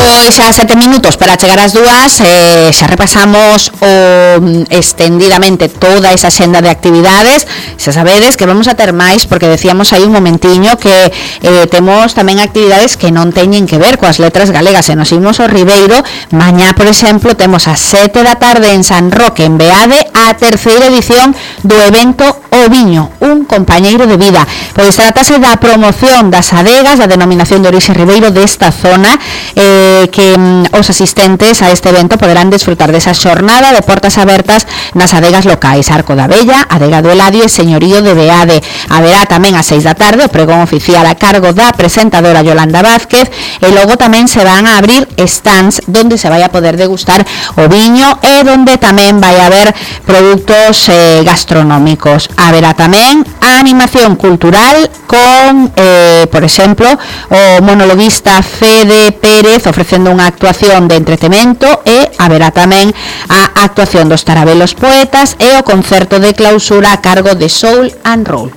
Pois a 7 minutos para chegar ás 2, xa repasamos extendidamente toda esa xenda de actividades. Xa sabedes que vamos a ter máis, porque decíamos aí un momentiño que temos tamén actividades que non teñen que ver coas letras galegas. E nos imos ao Ribeiro. Mañá, por exemplo, temos a 7 da tarde en San Roque, en Beade, a terceira edición do evento O Viño, un compañeiro de vida. Pois tratase da promoción das adegas, da denominación de orixe Ribeiro desta zona, que os asistentes a este evento poderán desfrutar desa xornada de portas abertas nas adegas locais Arco da Bella, Adega do Eladio e Señorío de Beade. Haberá tamén a 6 da tarde o pregón oficial a cargo da presentadora Yolanda Vázquez, e logo tamén se van a abrir stands donde se vai a poder degustar o viño e donde tamén vai a haber produtos gastronómicos. Haberá tamén a animación cultural con, por exemplo, o monologuista Fede Pérez ofrecendo unha actuación de entretemento, e haberá tamén a actuación dos Tarabelos Poetas e o concerto de clausura a cargo de Soul and Roll.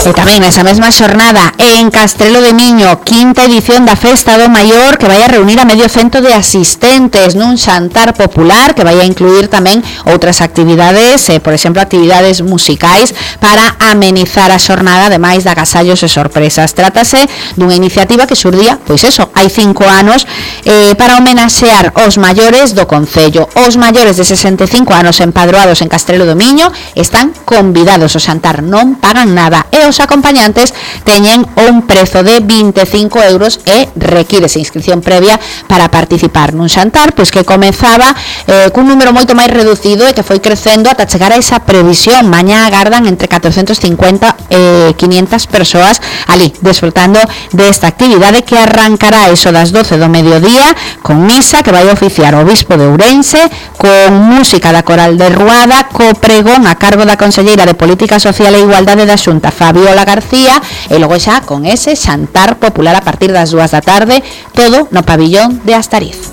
E tamén nesa mesma xornada en Castrelo de Miño, quinta edición da Festa do Maior, que vai a reunir a medio cento de asistentes nun xantar popular que vai a incluir tamén outras actividades, por exemplo, actividades musicais para amenizar a xornada, ademais de agasallos e sorpresas. Trátase dunha iniciativa que xurdía, pois eso, hai 5 anos, para homenaxear os maiores do concello. Os maiores de 65 anos empadroados en Castrelo do Miño están convidados ao xantar, non pagan nada, e os acompañantes teñen un prezo de 25 euros e requírese inscripción previa para participar nun xantar, pois que comezaba cun número moito máis reducido e que foi crecendo ata chegar a esa previsión. Mañá agardan entre 450 e 500 persoas ali desfrutando desta actividade, que arrancará eso das 12 do mediodía con misa que vai oficiar o Bispo de Ourense, con música da Coral de Ruada, co pregón a cargo da Conselleira de Política Social e Igualdade da Xunta, Fabiola García, e logo xa con ese xantar popular a partir das 2 da tarde, todo no pabillón de Astariz.